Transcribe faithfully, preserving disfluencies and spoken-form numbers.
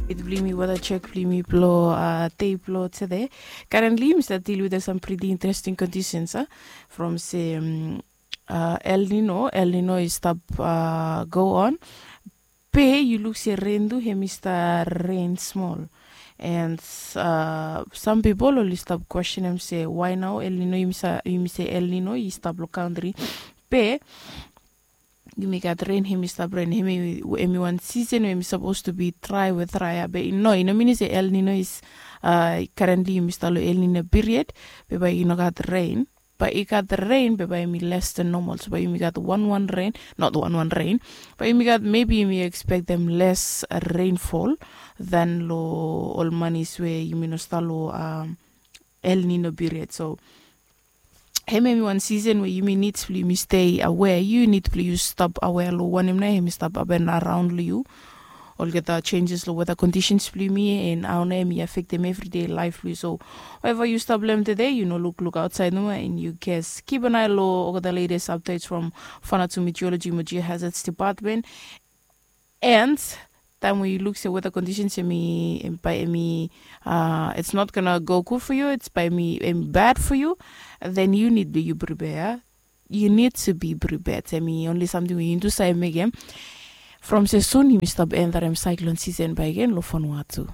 It blimi weda chek blimi blo tei blo tede. Currently mi stap deal with some pretty interesting conditions a from se um, uh, El Nino. El Nino i stap uh, go on. Pe yu luk se rain tu hem i stap rain small. And uh, some people oli stap questionem se why now El Nino, yumi se El Nino i stap lo country. Pe yumi gat rain, hem i stap rain, hem i wan season we hem i suppose to be dry we dry a be no, i no mini se El Nino is uh, currently yumi stap lo El Nino period. Be bai i no gat rain, bai i gat rain be bai yumi less than normal, so bai yumi gat one one rain, not one one rain, bai yumi gat maybe yumi expectem less rainfall than lo ol manis we yumi no stap lo um, El Nino period. So hem hem i wan season we yumi nid blong yumi stay aware, yu nid blong yu stap aware lo wanem nao hem i stap happen around lo yu, olgeta changes lo weather conditions blong yumi and hao nao hem i affectem everyday life blong yu. So wherever yu stap lo hem today, yu no lukluk outside nomo and yu ges, keep an eye lo olgeta latest updates from Vanuatu Meteorology mo Geohazards Department. And taem we yu luk se weather conditions hem i, bai hem i uh, it's not gonna go good for you, it's bai hem i bad for you, then you need to you prepare. You need to be prepared. Hem i only samting we yu nid tu save mekem from se sun yumi stap entarem cyclone season bakegen lo Vanuatu.